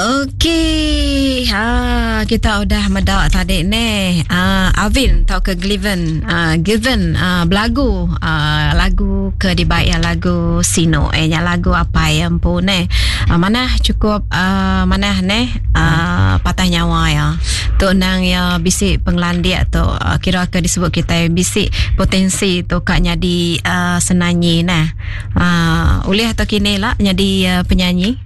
Okey, ha kita udah meda tadi neh. Ha, Alvin tauka Gliven, ha, Given ha, belagu ha, lagu ke dibai ya lagu Sino eh nya lagu apai ya empu neh. Ha, manah cukup ha, manah neh ha, patah nyawa ya. Tu nang ya bisi pengelandik tu ha, kira ke disebut kita bisi potensi tu ka nyadi uh, senanyi neh. Ha, ulih atau kini lah nyadi uh, penyanyi.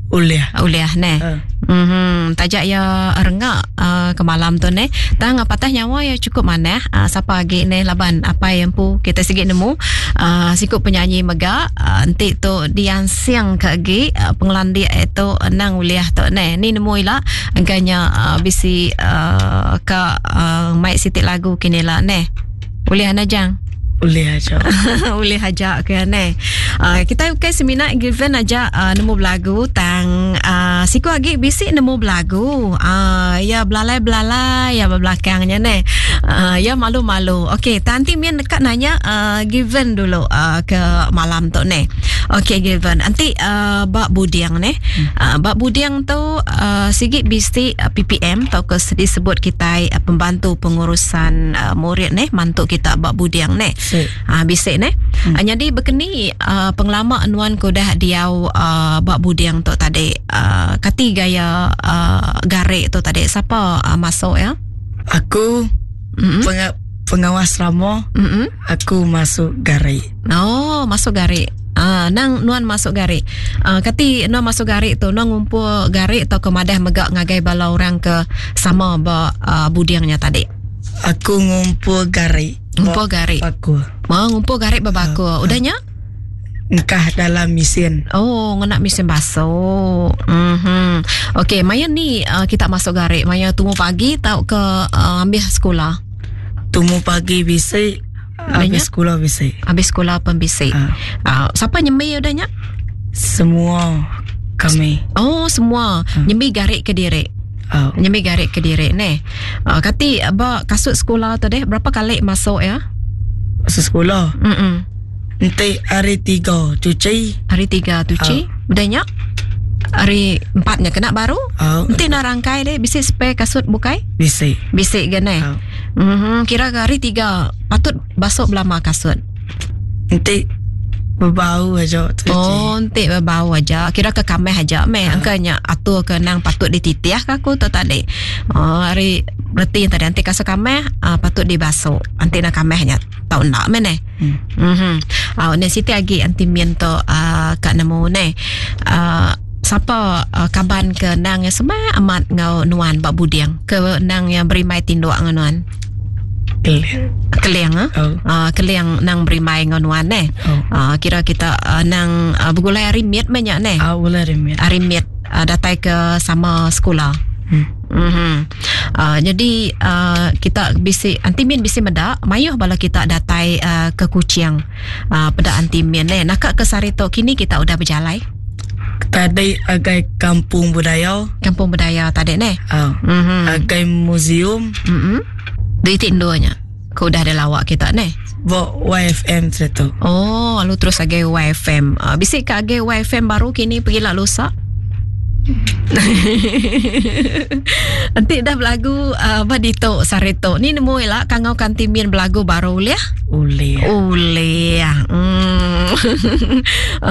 Ulih. Ulih neh. Uh. Mm-hmm. Tajak ya rengak uh, ke malam tu neh. Tang patah nyawa ya cukup manah. Uh, siapa agi neh laban apai empu kita sigi nemu uh, siku penyanyi mega uh, enti tu diansing ke agi uh, pengelandik itu nang ulih tu neh. Ni nemu ila engkanya uh, bisi uh, ka uh, mai siti lagu kini la neh. Ulih ana jang? Ulih aja. Ulih aja ke ne. Uh, kita ukai semina given aja uh, nemu belagu tang uh, siku agi bisi nemu belagu. Uh, ya belalai-belalai ya belakangnya ne. Uh, ya malu-malu. Okey, tanti min dekat nanya uh, given dulu uh, ke malam tu ne. Okey given. Anti uh, ba buding ne. Uh, ba buding tu uh, sigi bisi uh, PPM tau ke disebut kita uh, pembantu pengurusan uh, murid neh mantu kita ba buding neh. Ha bisi neh. Hmm. Uh, jadi bekeni uh, pengelama nuan ke udah diau uh, ba buding tu tadi uh, kati gaya uh, garik tu tadi sapa uh, masuk ya? Aku mm-hmm. penga- pengawas ramo mm-hmm. aku masuk garik. Oh, masuk garik. Ah, nang nuan masuk garik. Ah, kati nuan masuk garik tu nuan ngumpul garik atau ke madah mega ngagai bala orang ke sama ba uh, budingnya tadi. Aku ngumpul garik. Ngumpul garik. Bakul. Oh, ngumpul garik berbakul. Uh, Udahnya? Engkah dalam mesin. Oh, ngena mesin basuh. Mhm. Okey, maya ni uh, kita masuk garik. Maya tumu pagi tau ke uh, ambil sekolah? Tumu pagi bisi, habis sekolah bisi. Habis sekolah pun bisi. Uh. Uh, siapa nyembi udahnya? Semua kami. Oh, semua. Uh. Nyembi garik ke diri. Oh. Nyembi garik ke diri ne. Uh, kati ba kasut sekolah tu deh berapa kali masuk ya? Masuk sekolah. Mm. Enti hari tiga cuci. Hari tiga cuci. Oh. Udahnya hari empatnya kena baru. Oh. Enti nak rangkai deh bisi spare kasut bukai? Bisi. Bisi ge ne. Oh. Mm-hmm. Kira ke hari tiga patut basuh belama kasut. Enti bebau aja cuci. Oh, enti bebau aja. Kira ke kameh aja meh. Uh. Angka nya atur ke nang patut dititih ke aku tu tadi. Oh, hari reti tadi anti kasut kameh uh, patut dibasuh. Anti nak kameh nya tau enda meh neh. Hmm. Mhm. Uh, ne siti agi anti min tu uh, ka nemu neh. Uh, sapa uh, kaban ke nang yang semak amat ngau nuan ba buding ke nang yang berimbai tinduk ngau nuan. Keling. Keling ah. Oh. Uh, keling nang berimbai ngau nuan neh. Oh. Uh, kira kita uh, nang uh, begulai hari mit meh nya neh. Ah, begulai hari mit. Hari mit uh, datai ke sama sekolah. Hmm. Mm-hmm. Uh, jadi uh, kita bisi anti min bisi meda mayuh bala kita datai uh, ke Kuching. Uh, peda anti min neh. Naka ke sehari tu kini kita udah berjalai. Tadi agai kampung budaya. Kampung budaya tadi neh. Oh. Mm-hmm. Agai museum. Mm-hmm. Di titik endur nya. Ke udah ada lawak kita neh. Bo YFM tu. Oh, lalu terus agai YFM. Uh, bisi ke agai YFM baru kini pergi lah lusa. Nanti dah belagu uh, badito sarito. Ni nemu ila kangau kanti min belagu baru ulih. Ulih. Ulih. Hmm.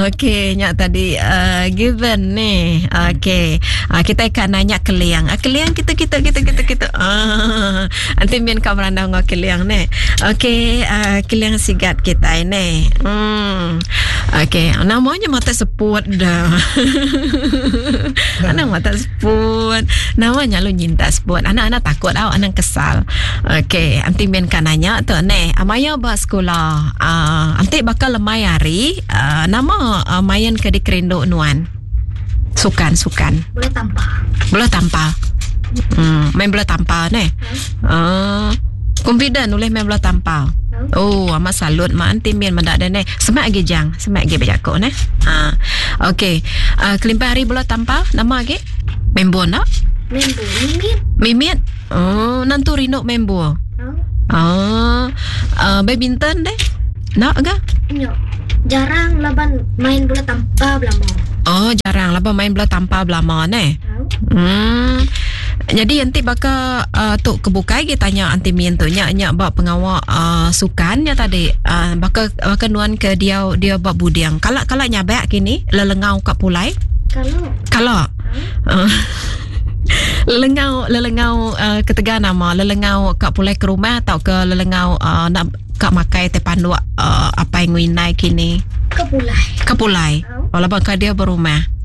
Okey, nya tadi uh, given ni. Okey. Uh, kita akan nanya keliang. Uh, keliang kita kita kita kita kita. Uh, nanti min kau merandau ngau keliang ni. Okey, uh, keliang sigat kita ni. Hmm. Okey, namanya mata seput dah. Anak mata seput. Namanya lu nyinta seput. Anak-anak takut tau, anak kesal. Okey, anti min kan nanya tu ni. Amaya ba sekolah. Uh, anti bakal lemai hari, uh, nama uh, main ke dikerindu nuan. Sukan, sukan. Bola tampar. Bola tampar. Hmm, main bola tampar ne. Hmm. Uh, confident boleh main bola tampar. Oh, amat salut mak anti min mendak dah ne. Semak lagi jang, semak lagi berjakok ne. Ha. Okey. Uh, kelimpah hari bola tampar, nama lagi? Membo nak? Membo mimit. Mimit. Oh, nantu rindu membo. Oh. Ah, uh, badminton deh. Nak ke? Nyok. Jarang laban main bola tampar belama. Oh, jarang laban main bola tampar belama ne. Oh. Hmm. Jadi enti baka uh, tu ke bukai gi tanya anti min tu nya nya ba pengawa uh, sukan nya tadi uh, baka baka nuan ke dia dia ba buding. Kala kala nyabak kini lelengau ka pulai? Kala. Kala. Uh. lelengau lelengau uh, ketegal nama lelengau ka pulai ke rumah atau ke lelengau uh, nak ka makai te panduk uh, apai nguinai kini? Ke pulai. Ke pulai. Oh, laban ka dia berumah.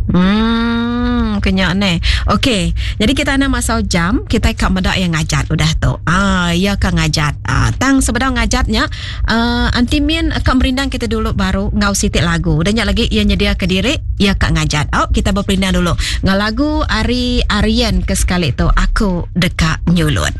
Hmm, kenya ne. Okey, jadi kita nak masau jam, kita ka meda yang ngajat udah tu. Ah, ya ka ngajat. Ah, tang sebedau ngajatnya, uh, Aunty Min ka merindang kita dulu baru ngau sitik lagu. Udah nya lagi ia nyedia ke diri, ia ka ngajat. Oh, kita berperindang dulu. Ngau lagu Ari Arian ke sekali tu, aku deka nyulut.